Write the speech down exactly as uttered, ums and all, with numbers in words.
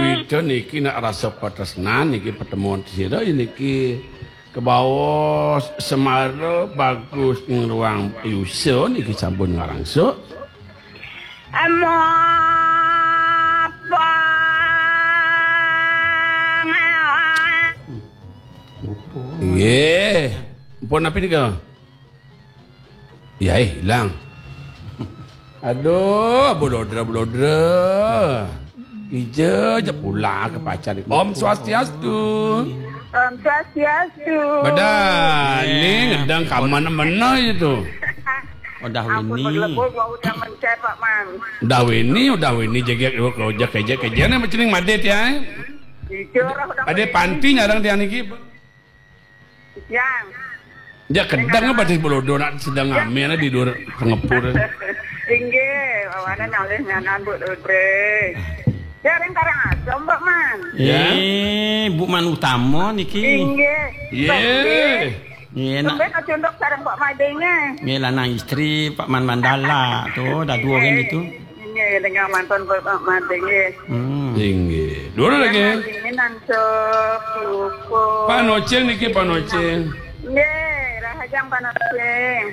Ito niki nak rasa patresnan niki pertemuan sira niki kebaos semara bagus ngruang yusa niki sampun ngarangsuk. Amapang. Nggih. Pun napi nika? Ya, eh, ilang. Aduh, bulodra, bulodra. Ija aja pula ke pacar. Om Swastiastu. Om Swastiastu. Bedah, ni ngedang kaman mana itu. Udah Ampun, Winnie. Berlebur, gua udah mencet, Pak Man. Udah Winnie, udah Winnie, jegek, jegek, jegek, jegek, ni macam ni madit ya, eh. Jujur, udah Ada Winnie. Panti nyarang dia niki. Yang. Dia kedang apa di Bolodo nak sedang ngamen di luar pengepur. Inggih, wawane nalih nyanan Bu Ludre. Ya ring Karangasem, Pak Man. Ya. Eh, Bu Man Utama niki. Inggih. Ye. Nggih, nak. Sampai kacunduk sareng Pak Madenge. Nggih, lanang istri Pak Man Mandala tu, dah dua orang gitu. Inggih, dengan mantan Pak Madenge. Hmm. Inggih. Dua lagi. Ini nang Pak Noceng niki, Pak Noceng. Nggih, rahajeng Pak Noceng.